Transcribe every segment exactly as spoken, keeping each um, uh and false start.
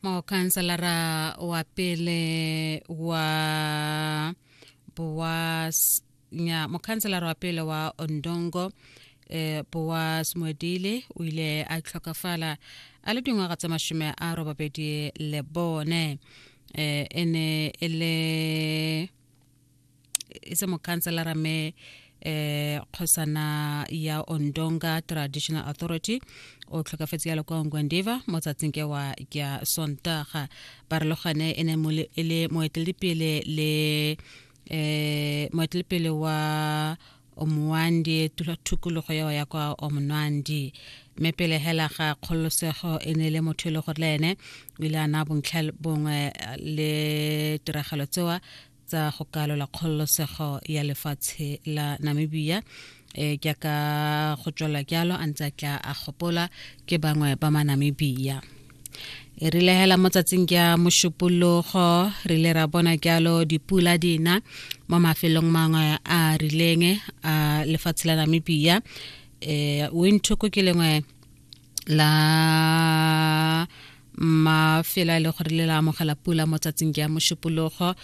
Mokhanselara wa pele wa Boas nya mokhanselara wa pele wa Ondongo eh Boas Mwedile o ile a tlhokafala a le dingwaga tsa mashome a robabedi le bone. Eh e ne e le e se mokhanselara mme eh kgosana ya Ondonga Traditional Authority o tlhokafetse yalo kwa Ongwediva mo tsatsing ke wa ya Sontaga. Barologane e ne e le moeteledipele le eh moeteledipele wa Omuandi tukologo yeo ya kwa Omunandi, mme pele hela ga kgololosego e ne le motho e le gore le ene o ile a naya bontlha bongwe le tiragalo tsewa tsa go kalola kgololosego ya lefatshe la Namibia. E jaaka go tswela jalo a ntse a tla a gopola ke bangwe ba ma Namibia. E rile hela mo tsatsing ya Mošupologo re ile ra bona jalo dipula dina mo mafelong mangwe a rileng a lefatshe la Namibia. Eh Windhoek ke lengwe la mafelo a le gore le la amogela pula mo tsatsing ya Mošupologo.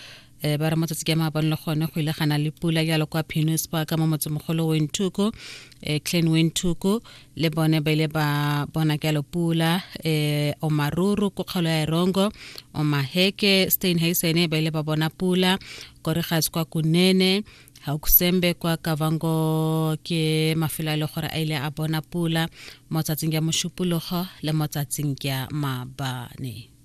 Eh ba re mo tsatsing ya maabane le gone go ile ga na le pula jalo kwa Pinus Park mo motsemogolo Windhoek, eh Klein Windhoek le bone ba ile ba bona jalo pula. Eh Omaruru ko kgaolo ya Erongo, Omaheke, Steenhuisen ba ile ba bona pula, Koregas kwa Kunene, Haukusembe kwa Kavango ke mafelo a le gore a ile a bona pula mo tsatsing ya Mošupologo le mo tsatsing ya maabane.